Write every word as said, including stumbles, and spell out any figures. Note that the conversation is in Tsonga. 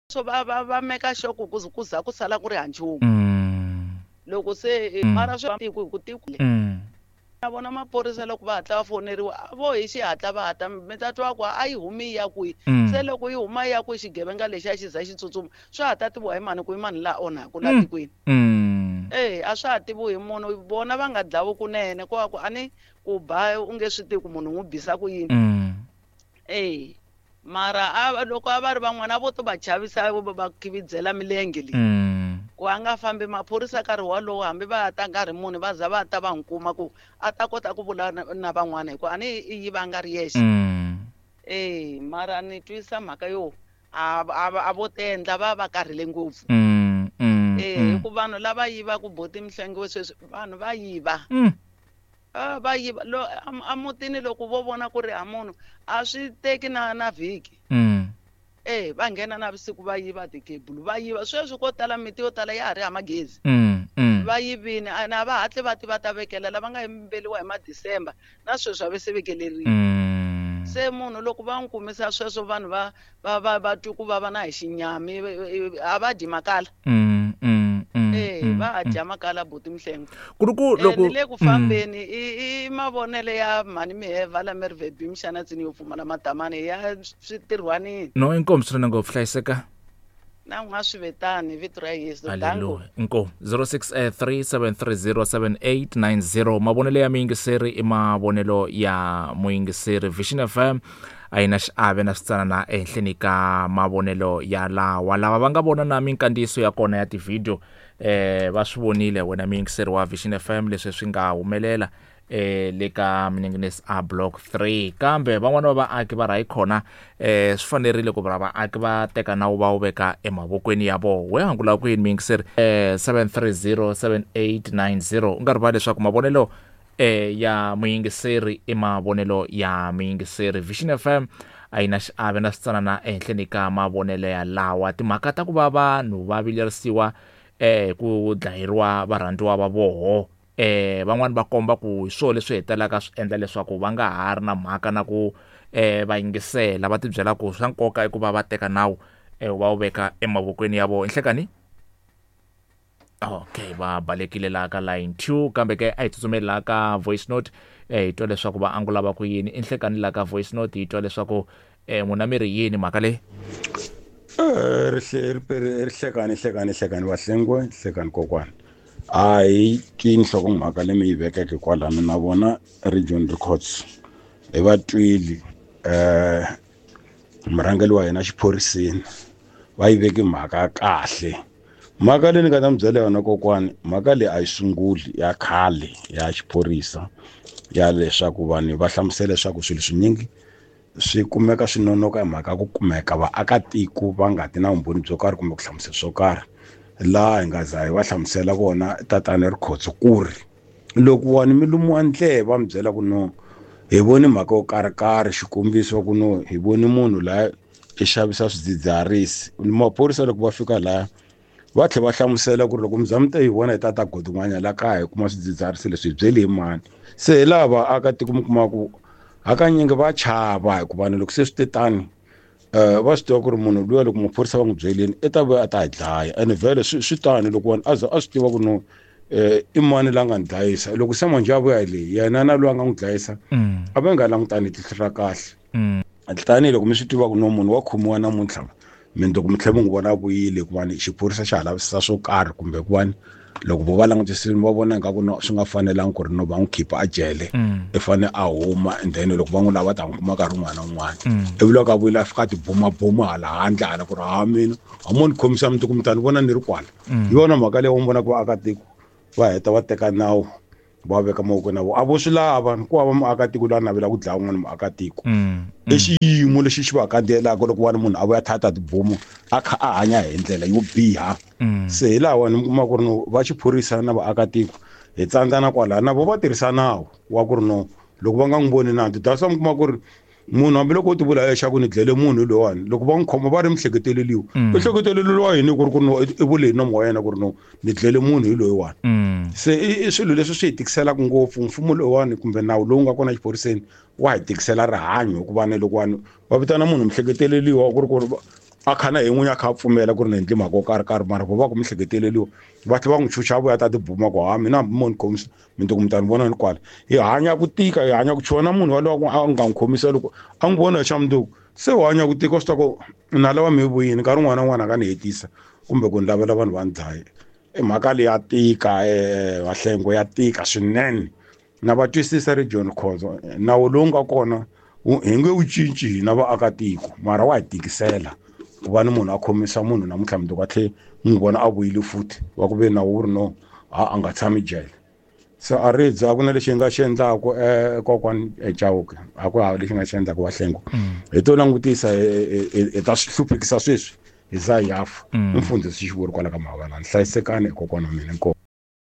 So va va va meka sure ku ku za ku sala ku ri ha nchumu. Mm. Loko se Mm. mara swi tiko hi ku tiko Mm. na vona maphorisa loko va hatla va foneriwa a vo hi xihatla va hatla mi ta twa ku a yi humi yi ya kwihi. Mm. Se loko yi huma yi ya kwihi xigevenga lexi a xi za xi tsutsuma swa ha ta tiviwa hi mani ku i mani laha onhaku laha Mm. tikweni. Mm. E a swa ha tiviwi hi munhu vona va nga dlawi kunene ko va ku a ni ku ba u nge swi tivi ku munhu n'wi bisa ku yini. Mm. E mara a loko a va ri van'wana a vo to va chavisa va va khividzela milenge leyi. Mm. Ku a nga fambi maphorisa nkarhi wolowo hambi va ta nkarhi muni va za va ta va n'wi kuma ku a ta kota ku vula na, na van'wana hikuva a ni yi va nga ri yexe. Mm. E mara ni twisisa mhaka yo a a a vo tendla va va karhele ngopfu. Mm. Mm. E Mm. hi ku vanhu lava yivaka boti Mhlengiwe sweswi vanhu va yiva. Mm. A va yiva lo a mutini loko vo vona ku ri ha munhu a swi teki na na vhiki. Mm. E va nghena navusiku va yiva tikhebulu va yiva sweswi ko tala miti yo tala ya ha ri hava magezi. Mm. Mm. Va yivini a na va hatli va ti va ta vekela lava nga yimbeliwa hi ma-December na sweswi a va se vekeleriwa. Mm. Se munhu loko va n'wi kumisa sweswo vanhu va va va va twi ku vava na hi xinyami a va dyi makala. Mm. Mm. Mm. E Mm. va ha dya makala buti Mhlengo. Ku ri ku E loko ni le ku fambeni i i mavonelo ya mhani Miheva la Mervebi Mxanatsini yo pfumala madamani ya switirhwanini. No inkomu swinene ngopfu hlayiseka. Na n'wa swi vetani vito ra Yesu. Danko. Haleluya. Inkomu zero six three seven three zero seven eight nine zero mavonelo ya muyingiseri i mavonelo ya muyingiseri. Vision F M a yi na xiave na switsanana ehenhleni ka mavonelo ya lawa lava va nga vona na minkandziyiso ya kona ya tivhidiyo eh va swi vonile wena muyingiseri wa Vision F M leswi swi nga humelela eh le ka Minengenesi A Block three kambe van'wana va vaaki va rhayi khona eh swi fanerile ku va vaaki va teka nawu va wu veka emavokweni ya vona. We angula ku yini muyingiseri eh seven three zero seven eight nine zero u nga rivali leswaku mavonelo eh ya muyingiseri i mavonelo ya muyingiseri. Vision F M a yi na xiave na switsanana ehenhleni ka mavonelo ya lawa timhaka ta ku va vanhu va vilerisiwa eh ku dlayeriwa varhandziwa va voho eh van'wani va komba ku hi swona leswi hetelelaka swi endla leswaku va nga ha ri na mhaka na ku eh va yingisela va tibyela ku swa nkoka i ku va va teka nawu eh va wu veka emavokweni ya vona. Nhlekani okay va balekile laha ka line two kambe ke a hi tsutsumeli laha ka voice note eh hi twa leswaku va angula va ku yini. Inhlekani laha ka voice note hi twa leswaku eh n'wina mi ri yini mhaka leyi. Eh rihlekani hlekani hlekani Vahlengwe hlekani kokwana. A hi twi nhlokomhaka leyi mi yi vekeke kwalano na vona Region Records hi va twile eh murhangeri wa hina xiphoriseni va yi veke mhaka kahle. Mhaka leyi ni nga ta mi byela yona kokwani mhaka leyi a yi sunguli ya khale ya xiphorisa ya leswaku vanhu va hlamusela leswaku swilo swinyingi swi kumeka swi nonoka hi mhaka ku kumeka vaakatiko va nga ti na vumbhoni byo karhi kumbe ku hlamusela swo karhi. Laha hi nga za hi va hlamusela vona tatana Rikhotso ku ri loko wani mi lumiwa ndleve va mi byela ku no hi voni mhaka yo karhikarhi xikombiso ku no hi voni munhu laha i xavisa swidzidziharisi. Maphorisa loko va fika laha va tlhela va hlamusela ku ri loko mi za mi ta yi vona hi tata Godongwana laha kaya hi kuma swidzidziharisi leswi hi byeli hi mani. Se hi laha vaakatiko mi kuma ku hakanyingi va chava hikuva loko se swi te tani eh va swi tiva ku ri munhu luya loko maphorisa va n'wi byelini i ta vuya a ta hi dlaya ene vhele swi swi tani loko vanhu a za a swi tiva ku no eh i mani la nga ni dlayisa loko se manjhe a vuya hi leyi yena na loyi a nga n'wi dlayisa a va nga langutani tihlo ra kahle. Tanihiloko mi swi tiva ku no munhu wa khomiwa namuntlha mindzuku mi tlhela mi n'wi vona a vuyile hikuva ni xiphorisa xa ha lavisisa swo karhi kumbe hikuva ni loko vo va langutisile va vona ingaku no swi nga fanelangi ku ri no va n'wi khipa a jele i fane a huma and then loko va n'wi lava ta n'wi kuma nkarhi wun'wana na wun'wana. Ivi loko a vuyile a fika a tibumabuma hala handle hala ku ri ha mina a mo ni khomisa mundzuku mi ta ni vona ni ri kwala. Hi yona mhaka leyi u vona ku vaakatiko va heta va teka nawu va veka mavokweni ya vona. A vo swi lava ku hava muakatiko loyi a navelaka ku dlaya un'wana muakatiko. I xiyimo lexi xi va kandziyelaka loko va ri munhu a vuya a tata tibomu a kha a hanya hi ndlela yo biha. Se hi laha wani mi kuma ku ri no va xiphorisa na vaakatiko hi tsandzana kwalaya na vo va tirhisa nawu wa ku ri no loko va nga n'wi voni nandzu that's why mi kuma ku ri munhu hambiloko u ti vula leswaku ni dlele munhu loyiwani loko va n'wi khoma va ri mihleketeleliwa u hleketeleliwa yini ku ri ku no i vule hi nomu wa yena ku ri no ni dlele munhu hi loyiwani. Se i swilo leswi swi hi tikiselaka ngopfu mfumo loyiwani kumbe nawu lowu nga kona exiphoriseni wa hi tikisela rihanyo hikuva ni loko vanhu va vitana munhu mihleketeleliwa ku ri ku ri A kha na hi n'winyi a kha a pfumela ku ri ni endli mhaka yo karhi karhi mara vo va ku mi hleketeleliwa va tlhela va n'wi chucha a vuya a ta tibuma ku ha mina hambi mo ni khomisa mindzuku mi ta ni vona ni kwala. Hi hanya ku tika, hi hanya ku chuha na munhu walowo a nga n'wi khomisa loko a n'wi vona hi xa mundzuku se u hanya ku tika u swi tiva ku nala wa mehe vuyini nkarhi wun'wana na wun'wana a nga ni hetisa kumbe ku ni lavela vanhu va ni dlaya. I mhaka leyi ya tika Vahlengo ya tika swinene na va twisisa Region Khozo nawu lowu nga kona hi nge wu cinci hina vaakatiko mara wa hi tikisela ku va ni munhu a khomisa munhu namuntlha mundzuku a tlhe n'wi vona a vuyile futhi wa ku ve nawu wu ri no ha a nga tshami jele. Se a ri a ku na lexi hi nga xi endlaku um kokwani Chauke a ku hava lexi nga xi endlaku Vahlengo hi to langutisa hi ta swi hluphekisa sweswi hi za hi ya fa. Mfundhisi Xivuri kwala ka Mhavalani hlayisekani kokwana wa mina inkomu.